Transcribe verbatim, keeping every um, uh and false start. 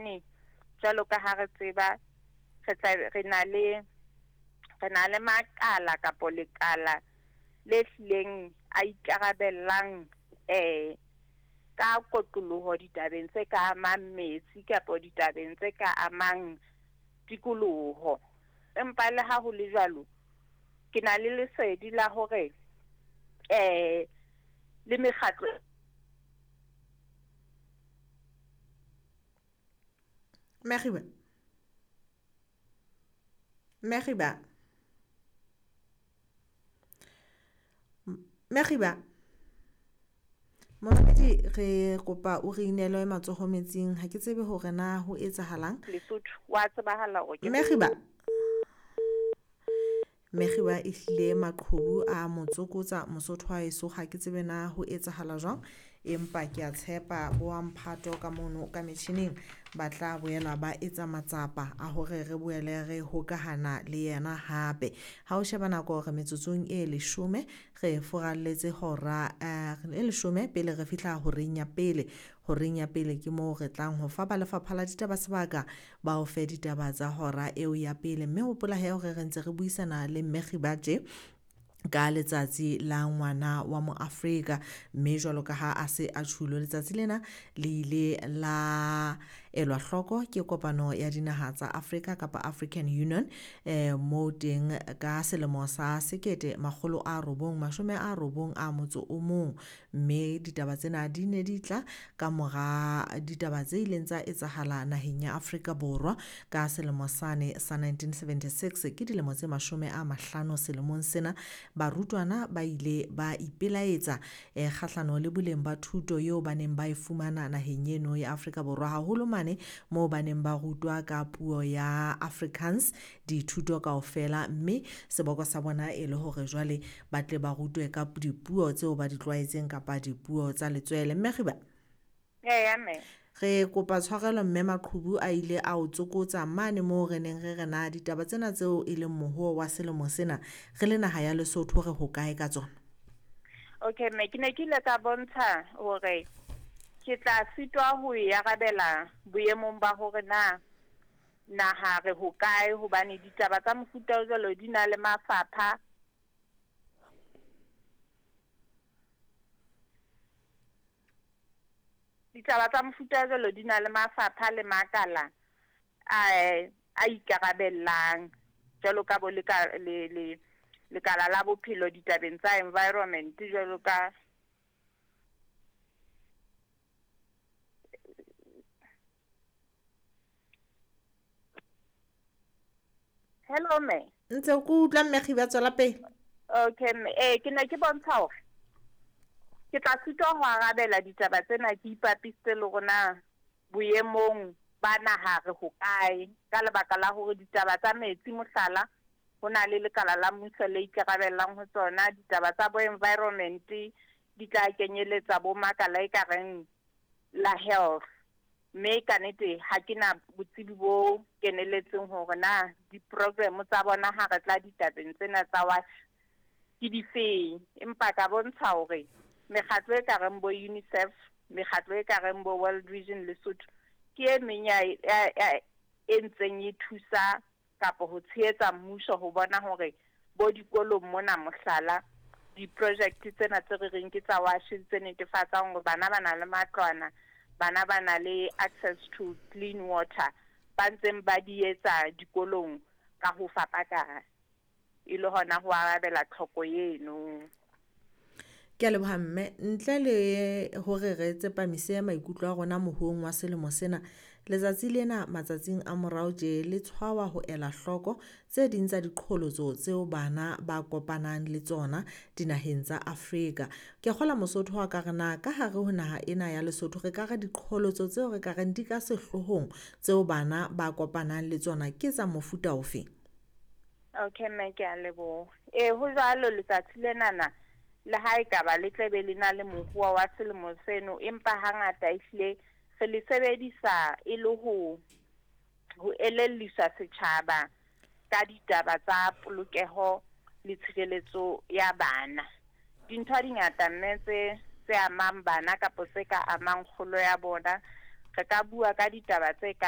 Hobane jwalo ka ha re tseba re tla re na le re na le makala kapo lekala le hlileng a ikarabellang eh ka kotloloho ditabeng tse ka amang metsi kapo ditabeng tse ka amang tikoloho. Empa le ha ho le jwalo, ke na le lesedi la hore eh le mekgatlo Mekgiba. Mekgiba. Mekgiba. Momamedi re kopa o re inele matsoho metsing, ha ke tsebe hore na ho etsahalang. Lesotho wa tsebahala hore ke Mekgiba. Mekgiba e hlile maqhubu a motsokotsa Mosotho wa heso, ha ke tsebe na ho etsahala jwang, empa ke a tshepa bo wa mphato ka mono ka metjhining ba tla boela ba etsa matsapa a hore re boele re hokahana le yena hape. Ha o sheba nako re metsotsong e leshome re furalletse hora eh, e leshome pele re fihla horeng ya pele. Horeng ya pele ke moo re tlang ho fa ba lefapha la ditaba sebaka ba o fe ditaba tsa hora eo ya pele. Mme hopola he hore re ntse re buisana le Mekgiba tje ka letsatsi la ngwana wa mo Afrika, mme jwalo ka ha a se a tjhulo letsatsi lena le ile la elwa hloko ke kopano ya dinaha tsa Afrika kapa African Union eh moo teng ka selemo sa sekete makgolo a robong mashome a robong a motso o mong. Mme ditaba tsena di ne di tla ka mora ditaba tse ileng tsa etsahala naheng ya Afrika Borwa ka selemo sane sa nineteen seventy-six, ke dilemo tse mashome a mahlano selemong sena. Barutwana ba ile ba ipelaetsa eh kgahlano le boleng ba thuto eo ba neng ba e fumana naheng eno ya Afrika Borwa, haholo mane moo ba neng ba rutwa ka puo ya Afrikaans dithuto kaofela, mme seboko sa bona e le hore jwale ba tle ba rutwe ka dipuo tseo ba di tlwaetseng kapa dipuo tsa letswele. Mekgiba, Eya mme. re kopa tshwarelo mme maqhubu a ile a o tsokotsa mane moo re neng re re na ditaba tsena tseo e leng mohuo wa selemo sena re le naha ya Lesotho re hokae ka tsona? Okay mme, ke ne ke ile ka bontsha hore ke tla sitwa ho e arabela boemong ba hore na naha re hokae, hobane ditaba tsa mofuta o jwalo di na le mafapha. Ditaba tsa mofuta o jwalo di na le mafapha le makala a a ikarabellang jwalo ka bo leka le le lekala la bophelo ditabeng tsa environment jwalo ka Hello mme. Ntse ke utlwa Mekgiba, tswela pele. Okay mme, eh ke ne ke bontsha hore ke tla sitwa ho arabela ditaba tsena ke ipapisitse le rona boemong ba naha re hokae, ka lebaka la hore ditaba tsa metsi mohlala ho na le lekala la mmuso le ikarabellang ho tsona, ditaba tsa bo environment di tla kenyeletsa bo makala e ka reng la health. Mme ka nnete ha ke na botsebi bo keneletseng hore na di-program tsa bona ha re tla ditabeng tsena tsa WASH ke difeng, empa ka bontsha hore mekgatlo e ka reng bo UNICEF, mekgatlo e ka reng bo World Vision Lesotho ke e meng ya, ya, ya e ntseng e thusa kapa ho tshehetsa mmuso ho bona hore bo dikolong mona mohlala di-project tsena tse re reng ke tsa WASH tse netefatsang hore bana ba na le matlwana, bana ba na le access to clean water, ba ntseng ba di etsa dikolong ka ho fapakana e le hona ho arabela tlhoko eno. Ke a leboha mme, ntle le hore re tsepamise maikutlo a rona mohuong wa selemo sena, letsatsi lena matsatsing a morao tje le tshwawa ho ela hloko tse ding tsa diqholotso tseo bana ba kopanang le tsona dinaheng tsa Afrika. Ke kgola Mosotho wa ka re na ka hare ho naha ena ya Lesotho re ka re diqholotso tseo re ka reng di ka sehloohong tseo bana ba kopanang le tsona ke tsa mofuta ofe? Okay mme, ke a leboha. Eh ho jwalo letsatsi lenana le ha e ka ba le tla be le na le mohuo wa selemo seno, empa hangata ehlile re le sebedisa e le ho ho elelliswa setjhaba ka ditaba tsa polokeho le tshireletso ya bana. Dintho di ngata mme tse tse amang bana kapa tse ka amang kgolo ya bona. Re ka bua ka ditaba tse ka